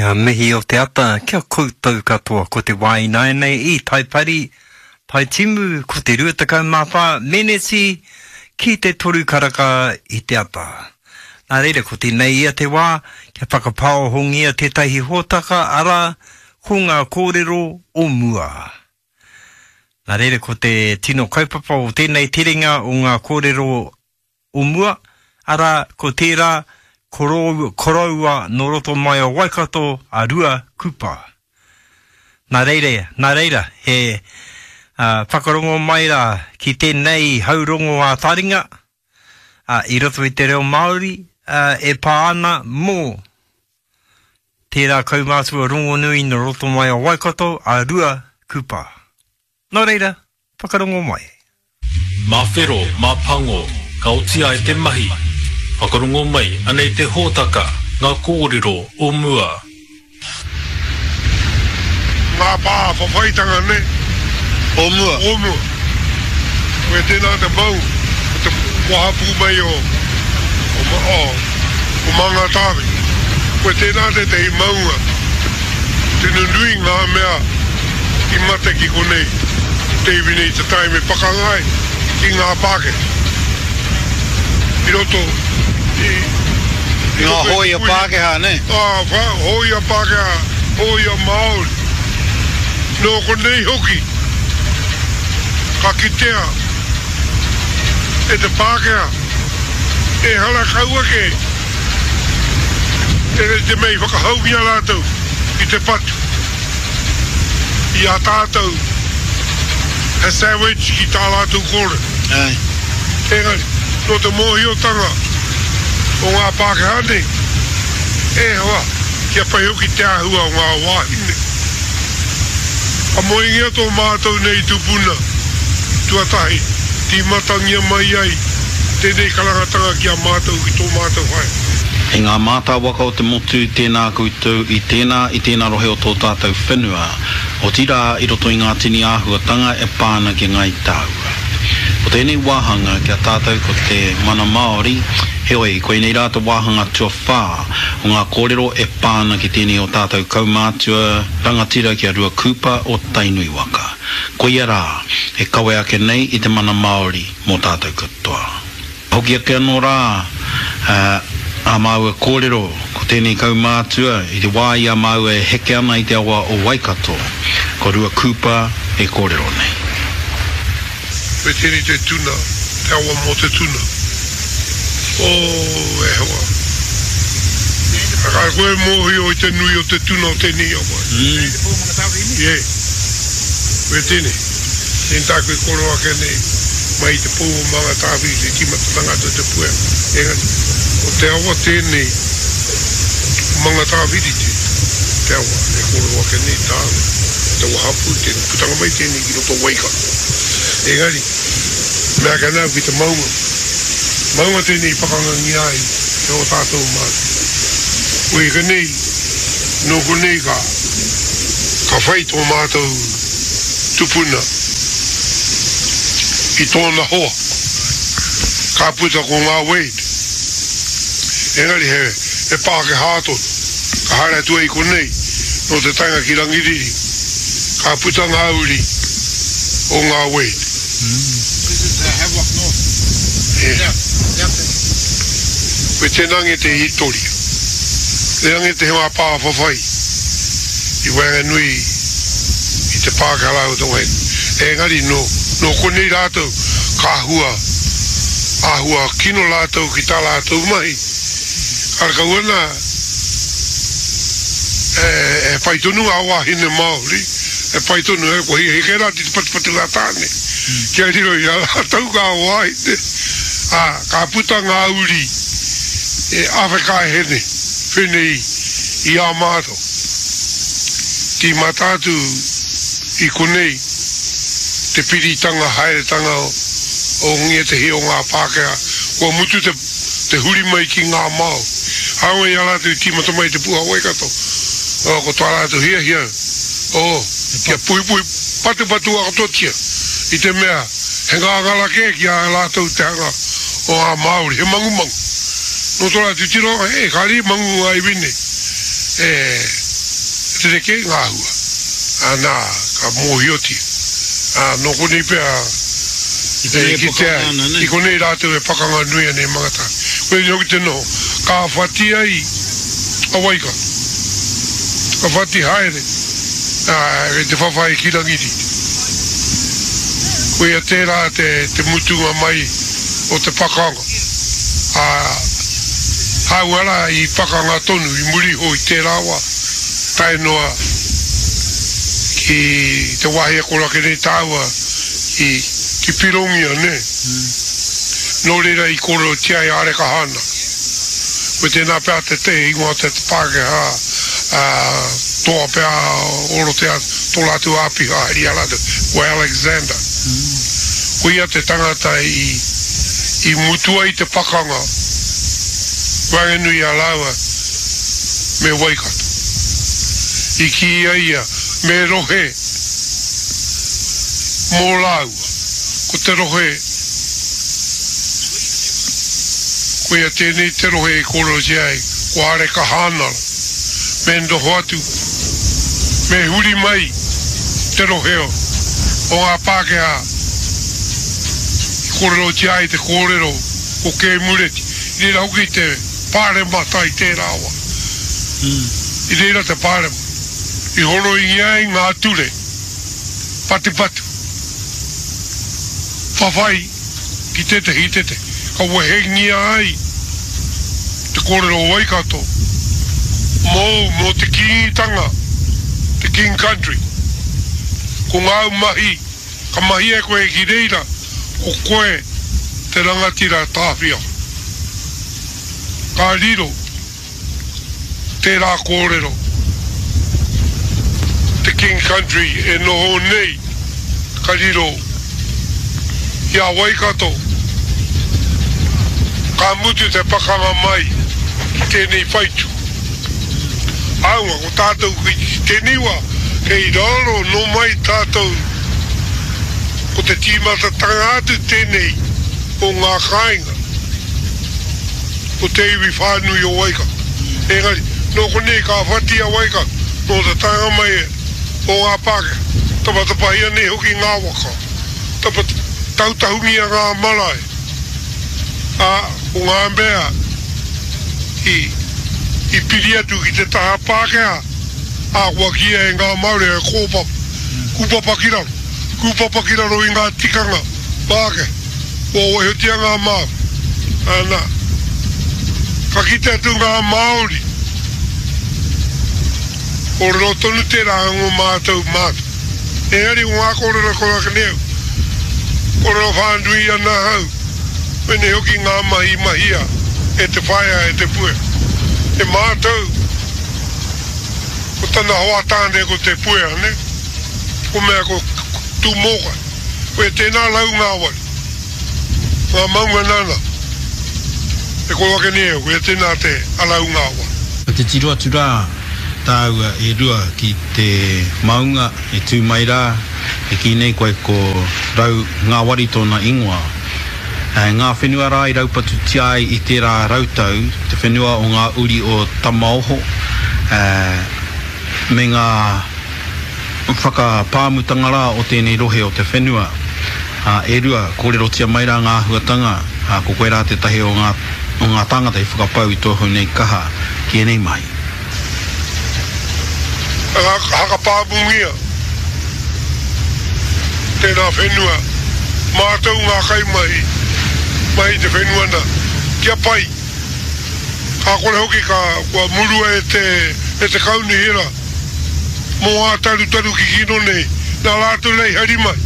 Ngā mihi o te ata kia koutou katoa ko te wā ināianei i Taipari, Taitimu ko te 24 meneti ki te toru karaka i te ata. Nā reira ko tēnei ia te wā kia whakapāohongia tētahi hōtaka arā ko ngā kōrero o mua. Nā reira ko te tino kaupapa o tēnei terenga o ngā kōrero o mua, arā, ko tērā korou, koroua nō roto mai o Waikato a Rua Kupa. Nā reira, nā reira, he uh, whakarongo mai rā ki tēnei haurongo ā-taringa uh, i roto i te reo Māori uh, e pā ana mō tērā kaumātua rongonui nō roto mai o Waikato a Rua Kupa. Nō reira, whakarongo mai. Mā whero, mā pango, ka oti ai te mahi. Whakarongo mai, anei te hōtaka, ngā kōrero o mua. Ngā pā whawhaitanga nei. O mua. O mua. Koe tēnā te maunga, ko te wahapū mai o, o, o, o Mangatāwhiri. Koe tēnā tētehi maunga, tino nui ngā mea i mate ki konei te iwi nei te taime pakanga ai ki ngā Pākehā i roto i i Ngā hōia Pākehā, nē? Ā, hōia Pākehā, hōia Māori. Nō konei hoki ka kitea e te Pākehā ehara kau ake e te mea i whakahaungia rātou ki te patu. i a tātou he savage ki tā rātou kōrero. Āe. Engari, nō te mōhiotanga o ngā Pākehā nei, e hoa, kia pai hoki te āhua o ngā wāhine. Ka moengia tō mātou nei tupuna tuatahi, tīmatangia mai ai tēnei karangatanga ki a mātou ki tō mātou whare. E ngā mātāwaka o te motu, tēnā koutou i tēnā, i tēnā rohe o tō tātou whenua, otirā i roto i ngā tini āhuatanga e pā ana ki Ngāi Tāua. Ko tēnei wāhanga ki a tātou ko te mana Māori, heoi, koinei rā te wāhanga tuawhā o ngā kōrero e pā ana ki tēnei o tātou kaumātua rangatira ki a Rua Kupa o Tainui waka. Koia rā, e kawe ake nei i te mana Māori mō tātou katoa. Hoki ake anō rā ā māua kōrero, ko tēnei kaumātua i te wā i a māua e heke ana i te awa o Waikato, ko Rua Kūpa e kōrero nei. Me tēnei te tuna, te awa mō te tuna. Oh, e hoa. Ka koe mōhio i te nui o te tuna o tēnei awa. Yeah. Me tēnei. Tēnei tāku e kōrero ake nei, mai i te pou o Mangatāwhiri te tīmatatanga atu o te puea, engari, ko te awa tēnei, ko Mangatāwhiri te, te awa e kōrero ake nei tāu, te wahapū tēnei, putanga mai tēnei ki roto o Waikato. Engari, mea ake ana au ki te maunga, maunga tēnei i pakangangia ai e ō tātou mātua. Koia konei, nō konei ka, ka whai tō mātou tupuna i tōna hoa, ka puta ko ngā Wade. Engari he, he Pākehā tonu. Ka haere atu ai konei, nō te taenga ki Rangiriri, ka puta ngā uri o ngā Wade. This is the Havelock North. Yeah. Koe tēnā nge te hitoria. Tēnā nge te ngā pā whawhai i waenganui i te Pākehā rāua te wahine. Engari nō, nō konei rātou ka āhua, āhua kino rātou ki tā rātou mahi. Karekau ana e, e pai tonu ngā wāhine Māori, e pai tonu, e, kua hikahika rātou i te patupatu ngā tāne, kia riro i a rātou ngā wāhine, ā, ka puta ngā uri e awhekaehene whenei i a mātou. Tīmata atu i konei te piritanga haeretanga o ngētehi o ngā Pākehā, kua mutu te, te huri mai ki ngā Māori. Hāunga i a rātou i tīmata mai te puha Waikato, ko tā rātou hiahia, oh, kia puhipuhi patupatua katoatia, i te mea he ngāngara kē ki a rātou te hanga o ngā Māori, he mangumangu. Nō tō rātou tirohanga, he, kāre i mangu ngā iwi nei. E. Rerekē ngā āhua, ā, nā, ka mōhiotia. Ā, nō konei pea e kitea ai, i konei rātou e pakanga nui ana i Mangatāwhiri. Koinei hoki te noho, ka whati ai a Waikato, ka whati haere, ā, kei te whawhai ki Rangiriri. Koia tērā te, te mutunga mai o te pakanga, ā, hāunga rā i pakanga tonu i muri iho i tērā wā. Tae noa ki te wāhi e koro ake nei tāua ki, ki Pirongia, nē? Nō reira i kōrerotia ai a Arekahana. Ko tēnā pea te te ingoa te Pākehā, ā, toa pea o roto tō rātou āpiha i a rātou, ko Alexander. Ko ia te tangata i, i mutu ai te pakanga waenganui i a rāua. me Waikato. I kī ai ia, me rohe mō rāua, ko te rohe, koia tēnei te rohe i kōrerotia ai, ko Areka Hānara, me noho atu, me huri mai te rohe o ngā Pākehā i kōrerotia ai te kōrero ko Kēmureti, i reira hoki te. Pāremata i tērā wā. I reira te pāremata i horoingia ai ngā ture patupatu, whawhai ki tētehi ki tētehi, ka wehengia ai te kōrero o Waikato mōu, mō te Kīngitanga, te King Country. Ko ngāu mahi Ka mahia e koe ki reira, ko koe te rangatira tāwhiao. Ka riro tērā kōrero, te King Country e noho nei, ka riro i a Waikato, ka mutu te pakanga mai ki tēnei whaitu. Āunga, ko tātou ki tēnei wā, kei raro nō mai tātou ko te tīmatatanga atu tēnei o ngā kāinga o te iwi whānui o Waikato. Engari, nō konei ka whati a Waikato nō te taenga mai o ngā Pākehā, tapatapahia nei hoki ngā waka, tautahungia ngā marae, ā, ko ngā mea i, i piri atu ki te taha Pākehā, ā, kua kīia e ngā Māori he kōpapa, kūpapa ki raro, kūpapa ki raro i ngā tikanga Pākehā, kua waihotia ngā Māori. Ana, ka kite atu ngā Māori, kōrero tonu tērā ngō mātou mātou. Engari ko ngā kōrero kua ake nei au, kōrero whānui ana ahau, Pēnei hoki ngā mahi i mahia e te whaea e Te Puea. E mātou, ko tana hoa tāne ko Te Puea, nē? Ko mea ko Tūmōkai. Koia tēnā Raungāwari, ngā maunga nāna e koro ake nei au, koia tēnā te Araungāwari. Ka titiro atu rā tāua e rua ki te maunga e tū mai rā, e kī nei koe ko Rau Ngāwari tōna ingoa. Ngā whenua rā i raupatutia ai i tērā rautau, te whenua o ngā uri o Tamaoho, me ngā whakapāmutanga rā o tēnei rohe o te whenua. E rua, kōrerotia mai rā ngā āhuatanga, ko koe rā tētahi o ngā, o ngā tāngata i whakapau i tōhou nei kaha ki ēnei mahi. Hakapāmungia tērā whenua, mātou ngā kaimahi mai i te whenua nā, kia pai. Ka kore hoki ka, kua murua e te, e te kaunihera mō ngā tarutaru kikino nei, nā rātou nei hari mai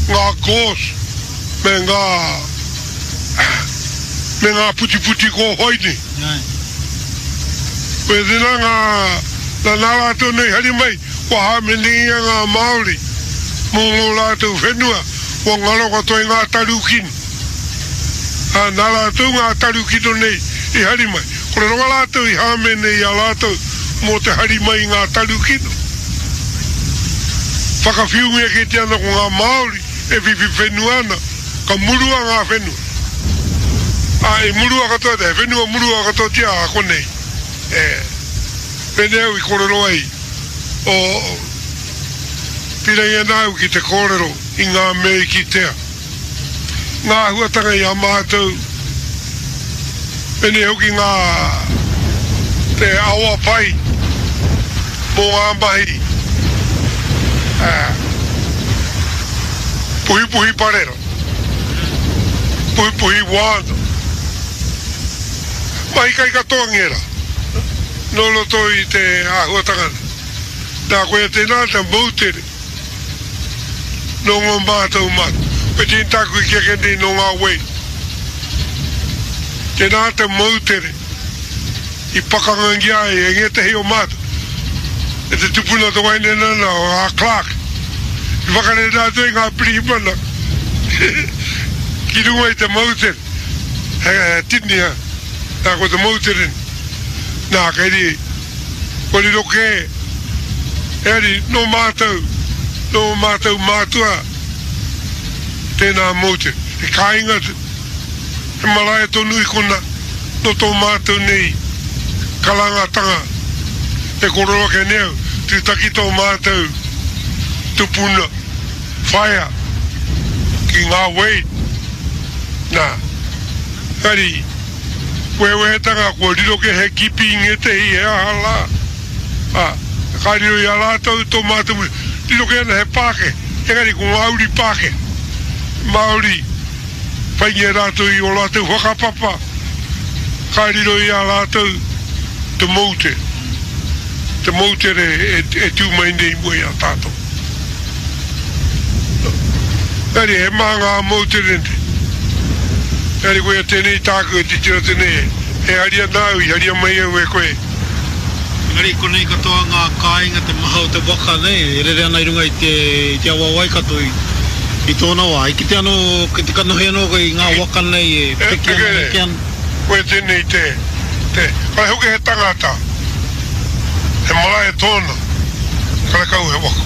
ngā gorse me ngā, me ngā putiputi kōwhai nei. Koia tēnā ngā, nā, nā rātou nei hari mai, kua hāmenengia ngā Māori mō ngō rātou whenua, kua ngaro katoa i ngā taru kino. Ā, nā rātou ngā taru kino nei i hari mai. Kore rawa rātou i hāmene i a rātou mō te hari mai i ngā taru kino. Whakawhiungia kētia ana ko ngā Māori e whiwhi whenua ana, ka murua ngā whenua. Ā, i murua katoa, he whenua murua katoatia a konei. E, pēnei au i kōrero ai. O, pīrangi ana au ki te kōrero i ngā mea i kitea, ngā āhuatanga i a mātou, pēnei hoki ngā, te awa pai mō ngā mahi, ā, puhipuhi parera, puhipuhi wāna, mahi kai katoa ngērā. Nō roto i te āhuatanga nei. Nā, koia tēnā te moutere nō ngō mātou mātua. Koia tēnei tāku i kī ake nei nō ngā wei. Tēnā te moutere i pakangangia ai e ngētehi o mātou, e te tupuna te wahine nana o a Clark, i whakarere atu ai ngā pirihimana ki runga i te moutere. He tini, nā, ko te moutere nei. Nā, kei ri, kua riro kē, engari nō mātou, nō mātou mātua tēnā moutere. He kāinga, he marae tonu i kona, nō tō mātou nei karangatanga e kōrero ake nei au, tūtaki tō mātou tupuna whaea ki ngā wei, nā, engari, Wehewehetanga kua riro kē he kipi i ngētehi he aha rā, ā, ka riro i a rātou tō mātou muri. Riro kē ana he Pākehā, engari ko ngā uri Pākehā, Māori, whaingia rātou i ō rātou whakapapa, ka riro i a rātou te moutere, te moutere e tū mai nei i mua i a tātou. Engari he maha ngā moutere nei. Engari koia tēnei tāku e titiro atu nei, e haria ana au, i haria mai au e koe. Engari konei katoa ngā kāinga, te maha o te waka nei, e rere ana i runga i te, i te awa o Waikato i, i tōna wā. I kite anō, ki te kanohi anō koe i ngā waka nei e piki ana, heke ana. Koia tēnei te, te, kare hoki he tangata. He marae tōna, karekau he waka.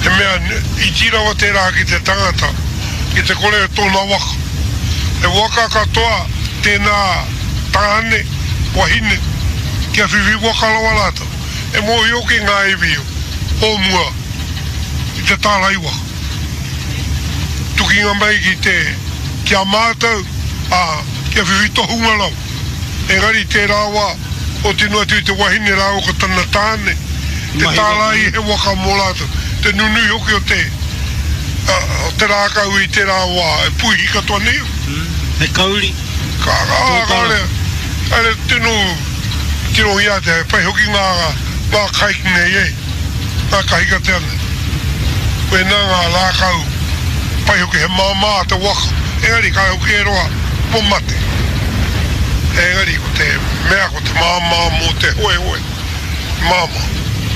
He mea iti rawa tērā ki te tangata, ki te kore tōna waka. He waka katoa tēnā tāne, wahine, kia whiwhi waka rawa rātou. E mōhio ki ngā iwi o mua i te tārai waka. Tukinga mai ki te, ki a mātou, ā, kia whiwhi tohunga rawa. Engari tērā wā, oti noa atu i te wahine rāua ko tana tāne, te tārai he waka mō rātou, te nunui hoki o te, o te rākau i tērā wā, e puihi katoa nei au. He kauri. Ka, ā, kāore, kāore tino tirohia atu, he pai hoki ngā, ngā kai nei e, ngā kahikatea nei. Koinā ngā rākau pai hoki, he māmā te waka, engari kāore hoki e roa kua mate. Engari ko te mea ko te māmā mō te hoehoe, māmā.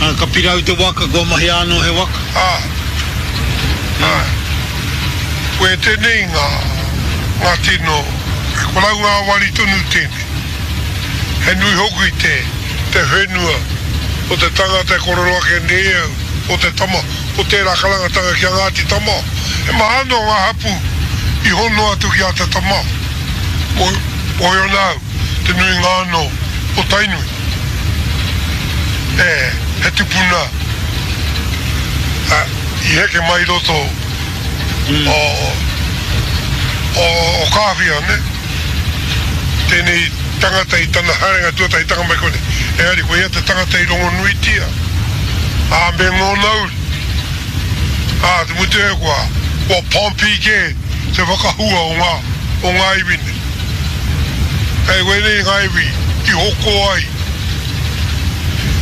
Ā, ka pirau te waka, kua mahia anō he waka. Ā, āe. Koe tēnei ngā, ngā tino, he korau ngāwari tonu tēnei. He nui hoki te, te whenua o te tangata e kōrero ake nei au, o te tama, o tērā karangatanga ki a Ngāti Tama. He maha anō ngā hapū i hono atu ki a Te Tama. Mōhio ana au, te nuinga anō o Tainui. E, he tupuna i heke mai i roto o, o, o Kāwhia, nē? Tēnei tangata i tana haerenga tuatahitanga mai konei, engari ko ia te tangata i rongonuitia, ā, me ngōna uri, ā, te mutu e kua, kua Pompey kē te whakahua o ngā, o ngā iwi nei. Kei wēnei ngā iwi i hoko ai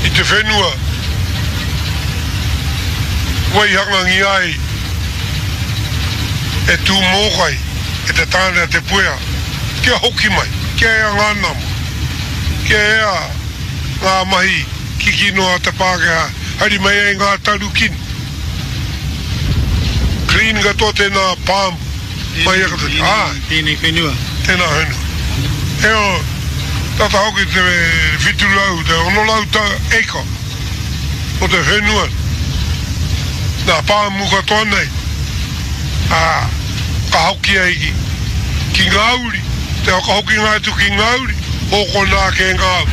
i te whenua waihangangia ai e Tūmōkai, e te tāne a Te Puea, kia hoki mai, kia ea ngā nama, kia ea ngā mahi kiki noa a te Pākehā, hari mai ai ngā taru kino. Clean katoa tēnā pāmu, mai a katoa. Āe. Tēnei whenua. Tēnā whenua. Heoi, tata hoki te 700, te 600 tau acre o te whenua, nā pāmu katoa nei. Ā, ka hoki ai ki, ki ngā uri, te whakahokinga atu ki ngā uri, hōkona ake ngā uri.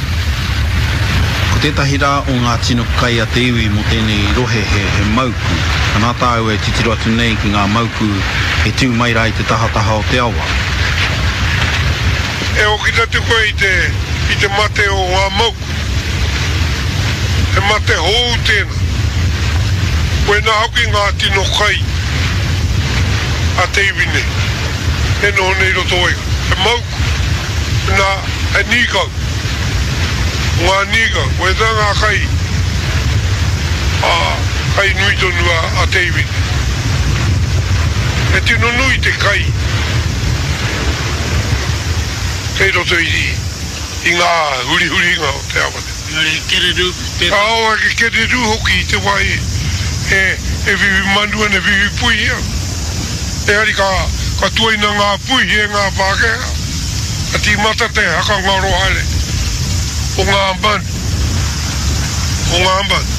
Ko tētahi rā o ngā tino kai a te iwi mō tēnei rohe he he mauku. Anā tāua e titiro atu nei ki ngā mauku e tū mai rā i te tahataha o te awa. E hoki atu koe i te i te mate o ngā mauku. He mate hou tēnā. Koinā hoki ngā tino kai a te iwi nei e noho nei i roto o Waikato. He mauku, nā, he nīkau. Ko ngā nīkau, koinā ngā kai, ā, kai nui tonu a, a te iwi nei. He tino nui te kai kei roto i, i ngā hurihuringa o te awa nei. Engari he kererū tēnā. Kāore he kererū hoki i te wā e, e whiwhi manu ana, e whiwhi puihi ana. Engari ka, ka tuaina ngā puihi e ngā Pākehā, ka tīmata te hakangaro haere o ngā manu, o ngā manu.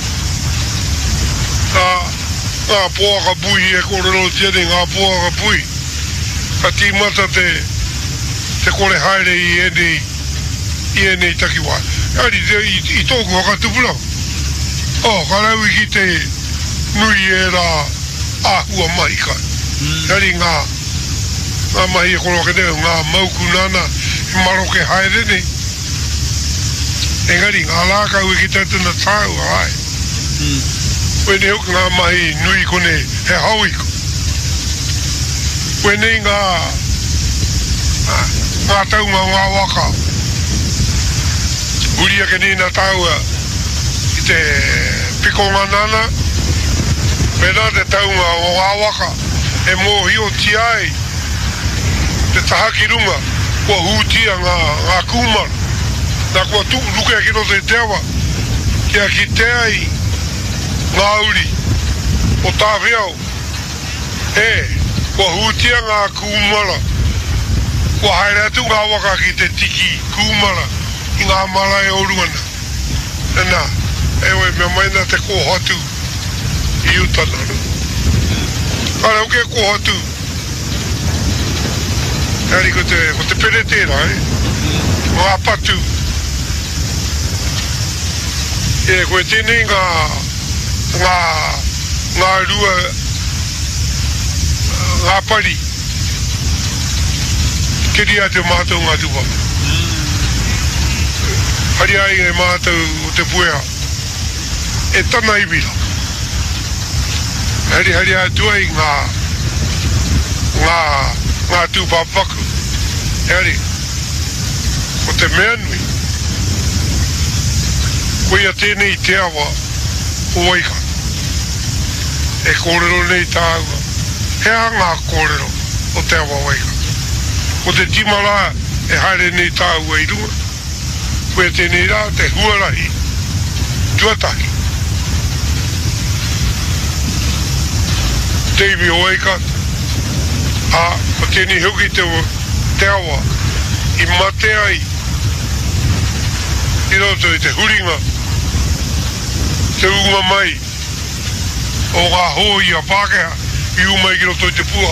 Nā, ngā poaka puihi e kōrerotia nei, ngā poaka puihi, ka tīmata te, te kore haere i ēnei, i ēnei takiwā. Engari, i, i tōku whakatupuranga, oh, ka rau i ki te nui ērā āhua mahi kai. Engari ngā, ngā mahi e koro ake nei, ngā mauku nāna e maroke haere nei. Engari, ngā rākau e kite atu ana tāua, āe. Koinei hoki ngā mahi nui konei, he hao ika. Koinei ngā, ngā taunga o ngā waka. Huri ake nei nā tāua i te pikonga nāna, mēnā te taunga o ngā waka e mōhiotia ai te taha ki runga kua hūtia ngā, ngā kūmara, nā kua rukea ki roto i te awa kia kite ai ngā uri o Tāwhiao, e, kua hūtia ngā kūmara, kua haere atu ngā waka ki te tiki kūmara i ngā marae o runga nā. Nana, heoi, mea mai nā te kōhatu i uta nana. Kāre hoki e kōhatu, engari ko te, ko te pere tērā, e. Ko ngā patu. E, koe tēnei ngā, ngā, ngā rua, ngā pari. Keria atu e mātou ngā tūpapa. Haria ai e mātou o Te Puea e tana iwi rā. Hariharia atu ai ngā, ngā, ngā tūpāpaku. Engari, ko te mea nui, koia tēnei te awa o Waikato. E kōrero nei tāua, he aha ngā kōrero o te awa Waikato? Ko te tima rā e haere nei tāua i runga, koia tēnei rā te huarahi tuatahi. Te iwi o Waikato, ā, ko tēnei hoki te, te awa i mate ai i roto i te huringa, te ūnga mai o ngā hōia Pākehā i ū mai ki roto i te pua.